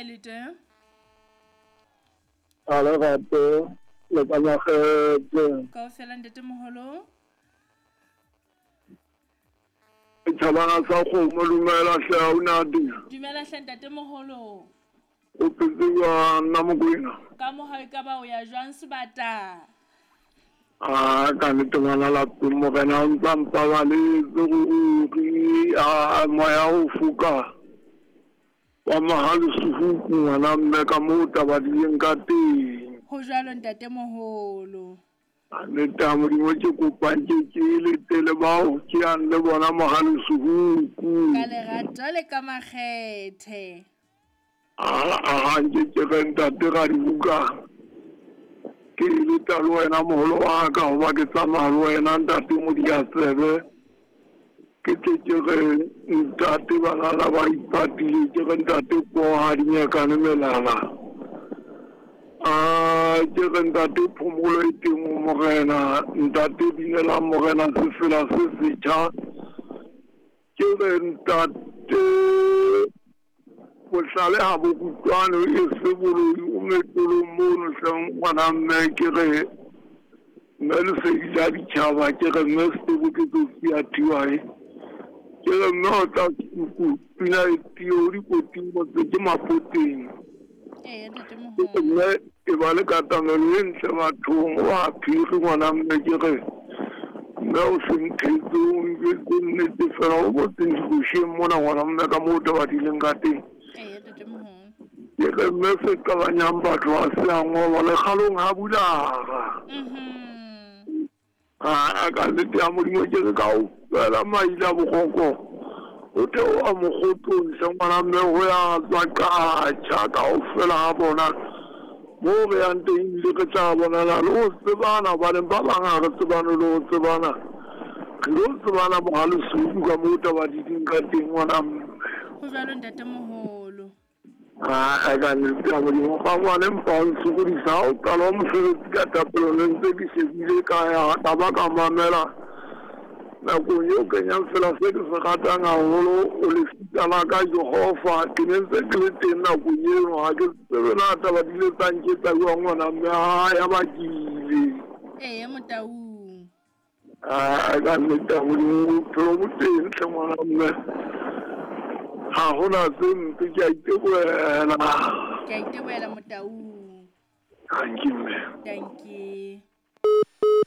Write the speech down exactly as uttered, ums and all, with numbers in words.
le teng? A le gape le ka makgethe. Kaofela, ntatemoholo. Tjhabana sa kgomo, dumela hle, aunadi. Dumela hle, ntatemoholo. O phetse jwang, nna Mokwena? Ka mohau, e ka ba o ya jwang, sebata? A ka nnete, ngwana lapeng, morena o ntsa mpabaletse ruri. A moya o foka wa mahalesuhuku, ngwana mme, ka moo taba di leng ka teng. Ho jwalo, ntatemoholo. A nnete ya Modimo, ke kopang ke ke letele bao ke yang le bona mahalesuhuku. Ka lerato le ka makgethe. A nke ke re ntate ra dibuka, ke leta le wena moholo wa ka, hoba ke tsamaya le wena ntate Modiatsebe. Ke tle ke re ntate banana ba ipatile, ke re ntate poha dinyekane melala, a ke re ntate phomolo e teng ho morena, ntate binelang morena sefela se setjha. Ke re ntate bohlale ha bo kutlwane, e se boloi o metolong mono hleng, ngwana mme. Ke re mme lesedi la ditjhaba, ke re mme Setebo ke tsotsi ya tiwae, ke re mme o tla suku pina e tio dikoting motse ke mapoteng. Ee, ntatemoholo. Mme e ba le katamelo e ntle bathong wa phiri, ngwana mme. Ke re mme o se nthetse, o njwetse nnete fela, o botseng dikosheng mona, ngwana mme, ka moo taba di leng ka teng. Ee, ntatemoholo. Ke re mme se qabanyang batho ha se a ngolwa lekgalong ha bulara. Mhm. A ka nnete ya Modimo, ke re kaofela maile a bokgoko o theoha mokgotong hle, ngwana mme, ho ya tswa qatjha kaofela ha bona moo re yang teng, ebile re tla bonana le ho tsebana, hobaneng ba bang ha re tsebane le ho tsebana, re lo tsebana mohalesuku ka moo taba di ding ka teng, ngwana mme. Ho jwalo, ntatemoholo. A ka nnete ya Modimo, ga ngwane mpa o nsokodisa ha o qala wa mosebetsi ka thapelo, ne ntse ke shebile ka ya ka ba ka mamela nakong eo kenyang fela se ke se ratang haholo, o lefika la ka Jehova. Ke ne ntse ke le teng nakong eno, ha ke tsebe na taba di le tsa nketsa jwang, ngwana mme, ha ya ba ke ile. Ee, motaung. A ka nnete ya Modimo, bophelo bo teng hle, ngwana mme, ha hona tse mpe, ke a itebohela. Ke a itebohela, motaung. Thank you, mme. Dankie.